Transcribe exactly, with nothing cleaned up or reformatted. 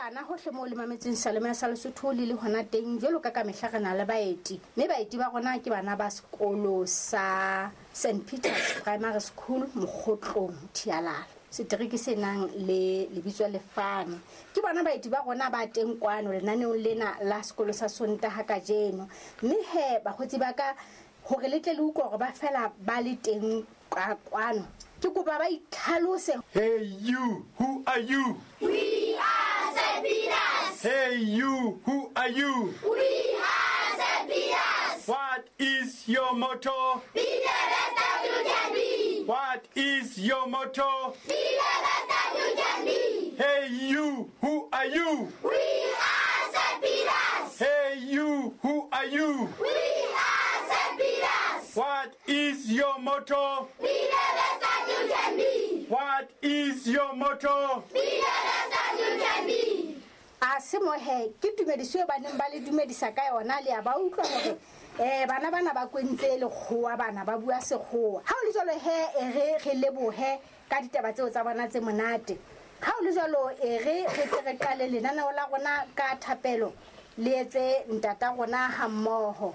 bana hohle moo le mametseng Seyalemoya sa Lesotho le le hona teng jwalo ka ka mehla re na le baeti mme baeti ba rona ke bana ba sekolo sa St Peters Primary School Mokgotlong Thialala setereke se nang le lebitso lefane ke bona baeti ba rona ba teng kwano lenaneong lena la sekolo sa Sontaha kajeno mme he bakgotsi ba ka hore le tle le utlwe hore ba fela ba le teng ka kwano ke kopa ba itlhalose Hey you, who are you? We are St. Peters. Hey you, who are you? We are St. Peters. What is your motto? Be the best that you can be. What is your motto? Be the best that you can be. Hey you, who are you? We are St. Peters. Hey you, who are you? We are St. Peters. What is your motto? Be the best that you can be. What is your motto? Be the best that you can be. a se mo he ke tumediso e baneng ba le dumedisa ka yona le a ba utlwa hore eh bana bana ba kwentse lekgowa bana ba bua sekgowa ha o le jwalo he e re re lebohe ka ditaba tseo tsa bona tse monate ha o le jwalo e re re tle re qale lenaneo la rona ka thapelo le etse ntata rona ha mmoho